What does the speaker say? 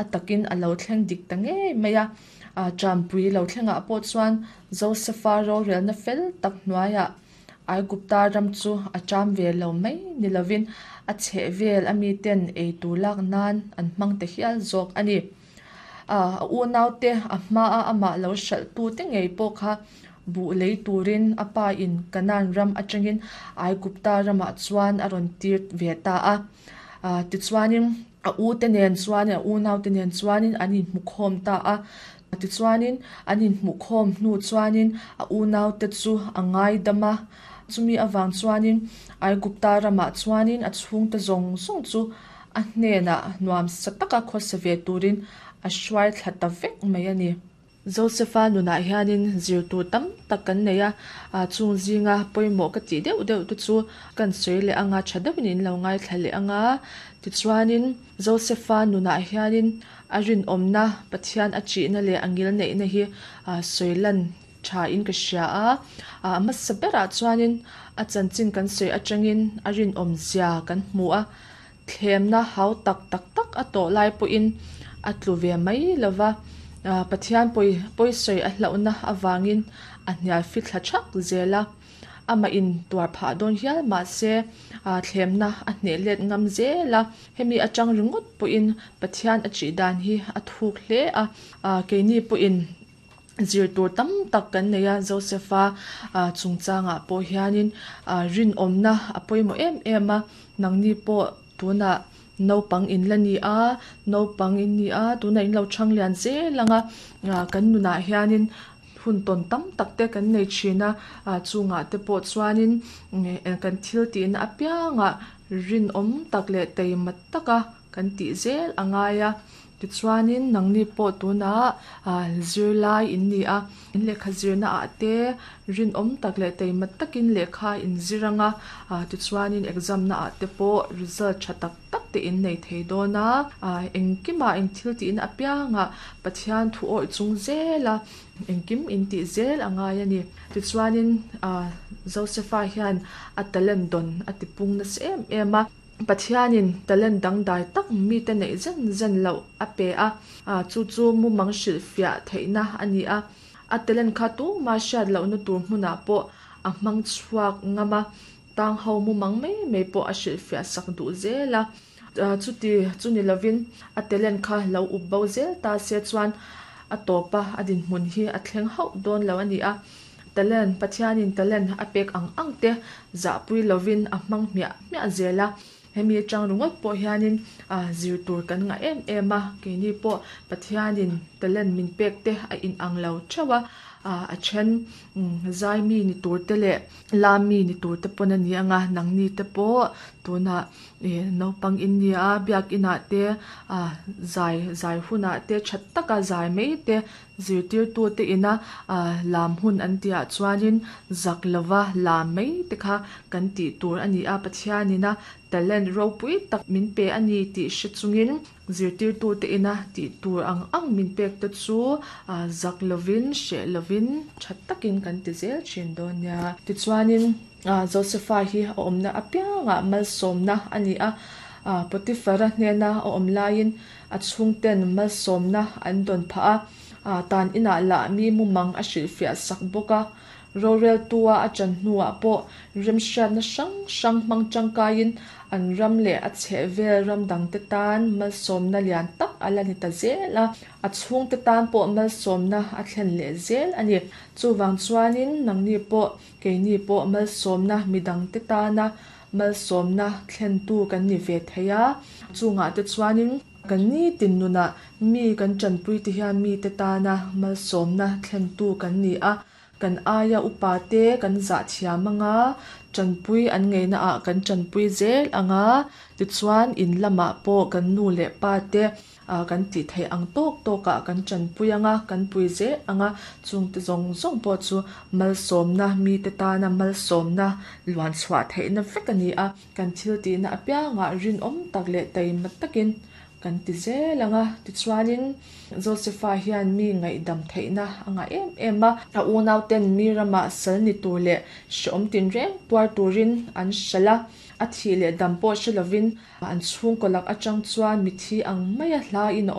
A takin a lo thleng dik ta ngei mai a. Ṭampui lo thlengah pawh chuan Josefa rorelna fel tak hnuaiah Aigupta ram chu a ṭam ve lo mai ni lovin a chhehvel a miten eitur lak nan an hmang ta hial zawk a ni. A unaute a hmaa amah lo hralhtute ngei pawh kha buh lei turin a pa in Kanaan ram atangin Aigupta ramah chuan a rawn tir ve ta a. Tichuanin a ute nen chuan a unaute nen chuanin an inhmukhawm ta a. Tichuanin an inhmuhkhawm hnu chuanin a unaute chu a ngaidam a. Chumi avang chuanin Aigupta ramah chuanin a chhungte zawng zawng chu a hnenah nuamsa taka khawsa ve turin a hruai thla ta vek mai a ni. Josefa nunah hianin zir tur tam tak kan nei a, chung zinga pawimawh ka tih deuh deuh te chu kan sawi leh anga tha deuhin in lo ngaithla leh anga. Tichuanin Josefa nunah hianin a rinawmna, Pathian a ṭihna leh a ngilneihna hi sawi lan tha in ka hria a. A hmasa berah chuanin a chanchin kan sawi atangin a rinawm zia kan hmu a. Thlemna hau tak tak tak a tawh lai pawhin a tlu ve mai lo va, Pathian pawi pawisawi a hlauhna avangin a hnial fithla thak zel a. Amah in tuar phah dawn hial mahse thlemna a hneh let ngam zel a. Hemi atang ringawt pawhin Pathian a ṭih dan hi a thuk hle a, keini pawhin Zir tur tam tak kan nei a, Joseph-a chungchangah pawh hianin rinawmna a pawimawh em em a, nangni pawh tunah naupang in la ni a, naupang in ni a, tunah in lo chhang lian zel ang a, kan nunah hianin hun tawn tam tak te kan nei thin a, chungah te pawh chuanin kan thil tihna apiangah rinawm tak leh taima taka kan tih zel a ngai a. Tichuanin nangni pawh tunah zirlai in ni a, in lehkha zirna ah te rinawm tak leh taima takin lehkha in zir ang a, tichuanin exam na ah te pawh result tha tak tak te in nei thei dawn a, engkimah eng thil tihna apiangah Pathian thu awih chung zel a, engkim in tih zel a ngai a ni. Tichuanin Josepha hian a talent dawn a tipung nasa em em a. Pathianin talent dangdai tak mite neih zen zen loh a pe a, chu chu mumang hrilhfiah theihna a ni a. A talent kha tumah hriat lohna tur hmunah pawh a hmang chhuak ngam a, tang ho mumang mai mai pawh a hrilhfiah sak duh zel a. Chuti chu ni lovin a talent kha lo up bo zel ta se chuan a tawpa a dinhmun hi a thleng hauh dawn lo a ni a. Talent, Pathianin talent a pek ang ang te zahpui lovin a hmang hmiah hmiah zel a, hemi atang ringawt pawh hianin zir tur kan ngah em em a, keini pawh Pathianin talent min pek te a inang lo theuh a, a then zai mi ni tur te leh la mi ni tur te pawn a ni ang a, nangni te pawh tunah naupang in nia biakinah te zai zai hunah te tha taka zai mai te Zirtirtute ina lam hun an tihah chuanin zak lova lam mai te kha kan tih tur a ni a, Pathianina talent ropui tak min pe a ni tih hre chungin zirtirtute ina tih tur ang ang min pek te chu zak lovin, hreh lovin tha takin kan ti zel thin dawn nia. Tichuanin Josepha hi a awmna apiangah malsawmna a ni a, Potiphara hnena a awm laiin A chhungten malsawmna an dawn phah a, tan inah lah mi mumang a hrilhfiah sak bawk a. Roreltua a ṭan hnuah pawh remhriatna hrang hrang hmang ṭangkaiin an ram leh a chhehvel ram dangte tan malsawmna lian tak a la ni ta zel a, a chhungte tan pawh malsawmna a thlen leh zel a ni. Chuvang chuanin nangni pawh keini pawh malsawmna midangte tana Malsawmna thlentu kan ni ve thei a, chungah te chuanin kan nitin nunah mi kan tanpui te hian mite tana malsawmna thlentu kan ni a, kan aia upa te kan zah thiam anga, tanpui an ngeihna ah kan tanpui zel anga, tichuan in lamah pawh kan nu leh pa te Kan tih theih ang tawk tawkah kan tanpui ang a, kan pui zel ang a, chungte zawng zawng pawh chu malsawmna, mite tana malsawmna luan chhuah theihna vek a ni a. Kan thil tihna apiangah rinawm tak leh taima takin kan ti zel ang a. Tichuanin Josepha hian mi ngaihdam theihna a ngah em em a. A unauten mi ramah sal ni tur leh hrehawm tinreng tuar turin an hralh a, a thih leh dam pawh hre lovin An chhungkaw lak atang chuan mithi ang maia hlain a awm.